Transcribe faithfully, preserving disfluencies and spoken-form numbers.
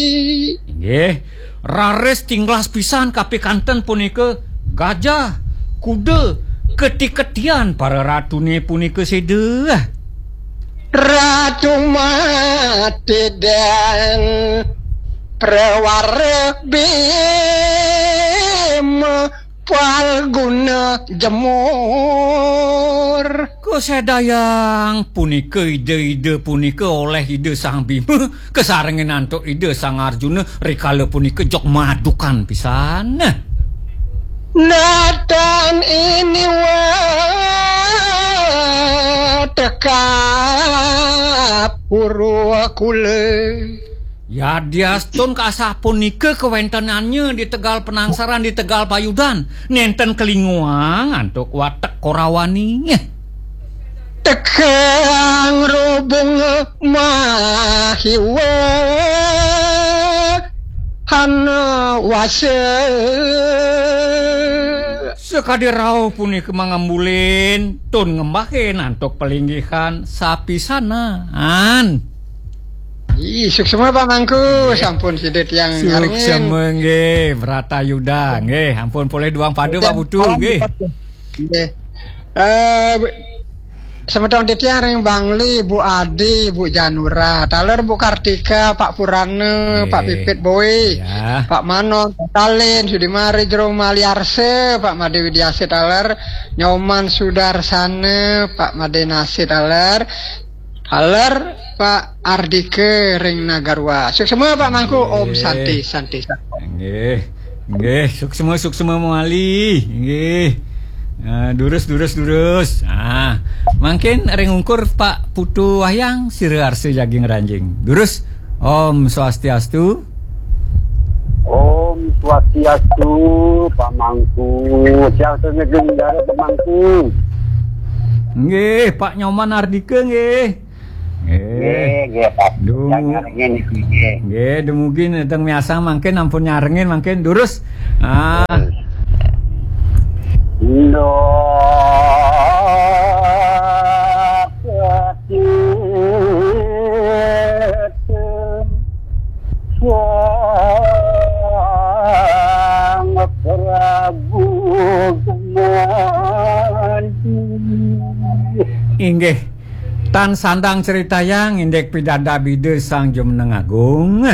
Inggih, raris tinglas pisan kapikanten punika gajah, kuda, keti-ketian para ratune punika seda. Ratu Matidang, Prawara Bima, Palguna Jemur. Kasedayang punika ida-ida punika oleh Ida Sang Bima, kasarengin antuk Ida Sang Arjuna, rikala punika jog madukan pisan. Natan ini wa tekap Purwakula. Yadiastun kasapunika kawentenannya di tegal Penangsaran, di tegal Payudan, nenten kalinguang antuk watek Korawani. Tekang rubung mahiwa hana wasa. Sakadi rauh punika mangambulin, tun ngembahin antuk palinggihan sapisanan. Ih, suksma Pak Mangku, nggih. Sampun sida tiang ngarengin. Suksma nggih, Bratayuda. Nggih, ampun polih duang pada, Pak Putu, nggih. Nggih. Eh, semeton titiang ring Bangli, Bu Adi, Bu Janura, taler Bu Kartika, Pak Purana, Pak, nggih, Pipit Boy, ya, Pak Manon, Pak Talin, Sudimari, Jero Maliarsa, Pak Made Widiasa taler, Nyoman Sudarsana, Pak Made Nasi taler, taler, Pak Ardika ring Nagarwa. Suksma Pak Mangku, Om, nggih, Santi, Santi, Santi. Nggih. Nggih, suksma, suksma mawali. Nggih. Ah, durus, durus, durus. Ah, mangkin ring ungkur Pak Putu Wahyang, sira arsa jagi ngranjing. Durus. Om Swastiastu. Om Swastiastu, Pak Mangku. Siang sene geng dara, Pak Mangku. Nggih, Pak Nyoman Ardika nggih. Nggih. Nggih, nggih, Pak. Dumu-, jangan nggih niki, nggih. Nggih, dumugi nedeng miasang mangkin ampun nyarengin mangkin durus. Ah. Indah. Sang Prabu Gumadi. Inggih, tan sandang critayang indik pidabdab Ida Sang Jumeneng Agung.